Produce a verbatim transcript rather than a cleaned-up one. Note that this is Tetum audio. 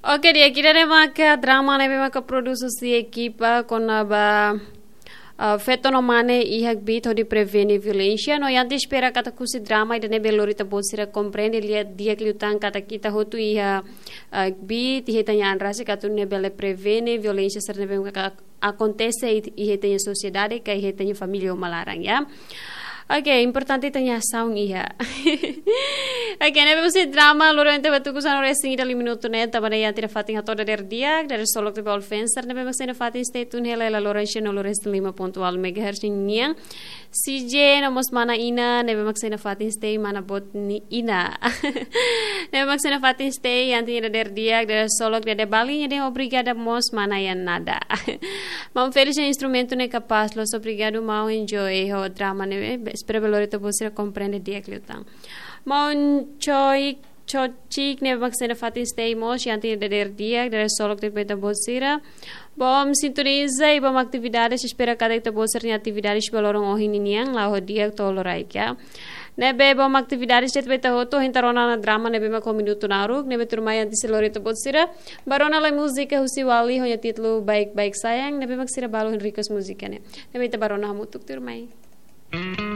Oke, di'ak, ida-ne'e maka drama ne'ebé maka produs husi ekipa kona-ba, ah, feto no mane iha kbiit hodi prevene violénsia. No ita espera katak husi drama ida-ne'e bele lori ita-boot sira komprende di'ak liután katak ita hotu iha, ah, kbiit, iha ita-nia an rasik atu nune'e bele prevene violénsia sira ne'ebé maka akontese iha ita-nia sosiedade ka iha ita-nia família uma laran, ya. Oke, importante ita-nia asaun iha. Oke, ne'ebé husi drama loro ente batuku sanu resin ida lima minutu ne'e, tanba ne'e ita iha fatin hato'o dadeer di'ak, dadeer-solok tiha ba Alfenser, ne'ebé mak sei iha fatin stay tune hela iha Lorraine no Lorraine lima ponto nol megahertz nian. C J no mós mana Ina, ne'ebé mak sei iha fatin stay mana boot nia Ina. Ne'ebé mak sei iha fatin stay, ita iha dadeer di'ak, dadeer-solok, dadeer bali, nia dehan obrigada mós mana Yan Nada. Maun Felix nia instrumentu ne'e kapás loos, obrigadu maun, enjoy ho drama ne'e, espera bele lori ita-boot sira komprende di'ak liután. Maun Choi, Chochik ne'ebé mak sei iha fatin stay mós, ita iha dadeer di'ak, dadeer-solok tiha ba ita-boot sira. Bom sintoniza i bom atividades, espera katak ita-boot sira-nia atividades ba loron ohin ninian la'o ho di'ak to'o loraik, ya. Ne'ebé bom atividades de'it ba ita hotu, ita rona ona drama ne'ebé mak ho minutu naruk, ne'ebé tuirmai ita sei lori ita-boot sira ba rona lai múzika husi Wali ho nia títulu Baik-Baik Sayang, ne'ebé mak sira balu hein request múzika ne'e. Ne'ebé ita ba rona hamutuk tuirmai.